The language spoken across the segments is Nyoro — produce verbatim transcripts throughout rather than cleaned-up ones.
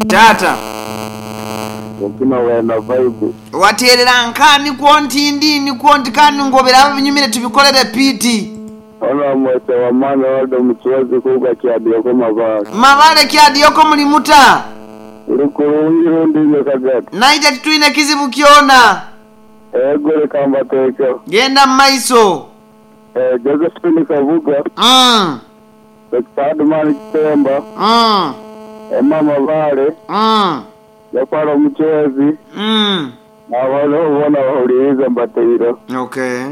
Tata Okina wena vibe. Waterera nkani kwonti ndini kwonti kani ngobera binyumire tubikolere piti. Ona mwete wa mwana wado mchuwazi kuga kyadiyoko mabale. Mabale kyadiyoko mulimuta. Urukurungi rundi nyakagati. Naija tituine kizibu kiona. Ego reka mbateeke. Genda maiso. Eh, Josephine Kavuga. Mm. Doctor Adman Kitemba. Mm. Emma Mabale. Mm. Yakwara omuchwezi. Mm. Abano bona bahuliriza mbateiro. Okay.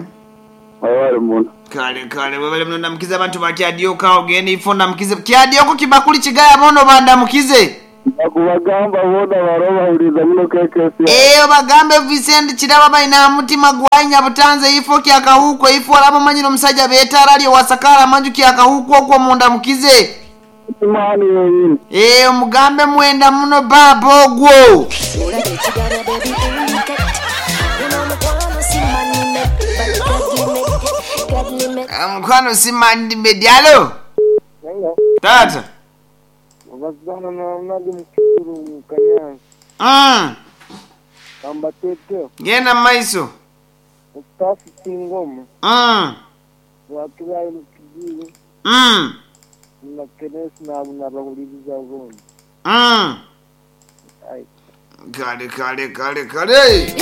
Abali muno. Kale kale webale muno ndamukize abantu ba Kyadiyoko awo genda ifo ndamukize. Kyadiyoko kibakuli kigaya bono bandamukize. Bakubagamba bona baro bahuliriza muno K K C. Eh bagambe Vincent Kiraba balina mutima gwanya butanze ifo kyakahuko ifo alabo manyiro musajja betara lyo wasakara manju kyakahuko okwo munda mukize. Imani yenyini. Eh omugambe mwenda muno baba ogwo. Mukwano simandi medialo. Tata. Wazana na mnadi mkuru mkanyanzi. Mm. Kamba tete. Genda maiso. Ustafu kingoma. Mm. Wakilai mkijini. Mm. Na kenesi na abunabahuliriza ugondi. Mm. Ai. Kale kale kale kale.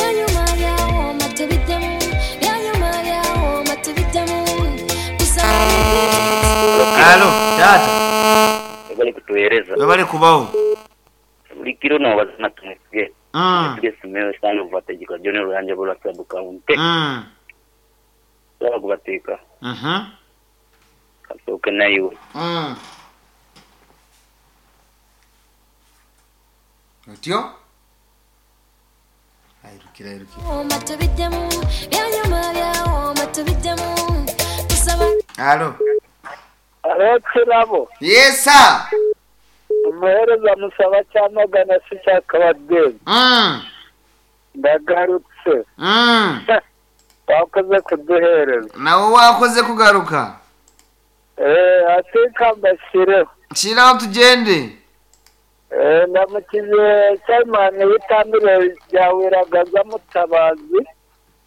Halo, tata. Bali kutueleza. Bali kubao. Buli kiro na wazana tumwesige. Mm. Tumwesige simewe sana uvategeka jone ruyanja bula sabuka unte. Mm. Sawa kubateka. Mhm. Kasoke na iwe. Mm. Otyo? Airukira airukira. Halo. Halo Kirabo. Yes sir. Umuhereza musaba cyamagana si cyakabadeni. Mm. Ndagarutse. Mm. Wakoze kuduhereza. Nawe wakoze kugaruka. Eh, atika mbashireho. Shiraho tugende. Eh, ndamukize Simon witambire ryawiragaza mutabazi.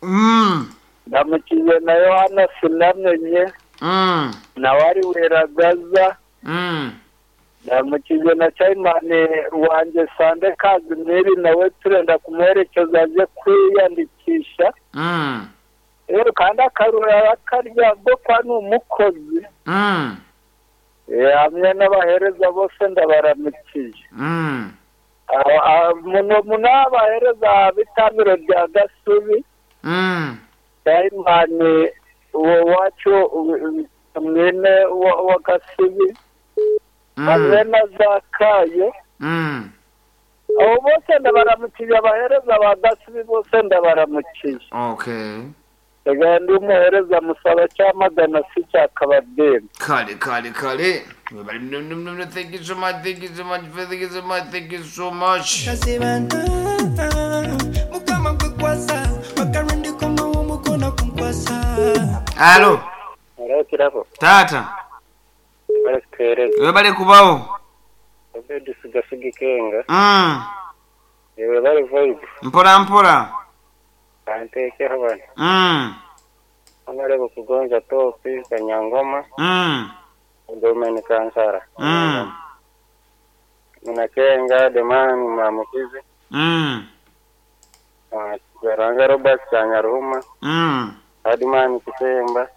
Mm. Ndamukize na Yohana sinamenye. Mm. Na wari weragaza. Mm. Ndamukize na Simon wanje Sande Kazimiri nawe turenda kumuherekeza aje kwiyandikisha. Mm. Rero kandi akarura akarya bwo kwa ni umukozi. Mm. Eh, hamwe n'abahereza bose ndabaramukiye. Mm. Muno munabahereza bitambiro rya Gasubi. Mm. Simon uwo wacu mwene wa Gasubi. Mm. Hamwe na Zakayo. Mm. Abo bose ndabaramukiye abahereza ba Gasubi bose ndabaramukiye. Okay. Ega ndi umuhereza musaba cyamagana si cyakabadeni. Kale kale kale. Thank you so much, thank you so much, thank you so much, thank you so much. Halo. Halo Kirabo. Tata. Bali kutueleza. Webale kubao. Obedi sigasiga kenga. Mm. Ewe bali vibe. Mpora mpora. Anteke habana. Mm. Amarebo kugonja topi kanyangoma. Mm. Domeni kansara. Mm. Munakenga demani mamukizi. Mm. Garanga Robert Kanyaruhuma. Mm. Adimani Kisemba.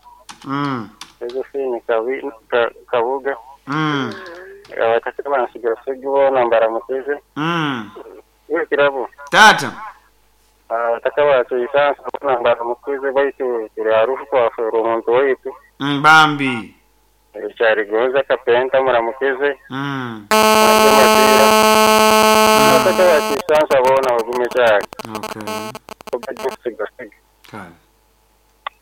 Mm. Josephine Kawi ka, Kabuga. Mm. Abatakaba nsigasigi bona mbaramukize. Mm. Iwe Kirabo. Tata. Abatakaba tuisansa bona mbaramukize baitu tuli harufu kwa omuntu waitu. Mbambi. Kyarigonza kapenta muramukize. Mm. Abatakaba tuisansa bona bagume cyane. Okay. Obedi nsigasigi. Kale.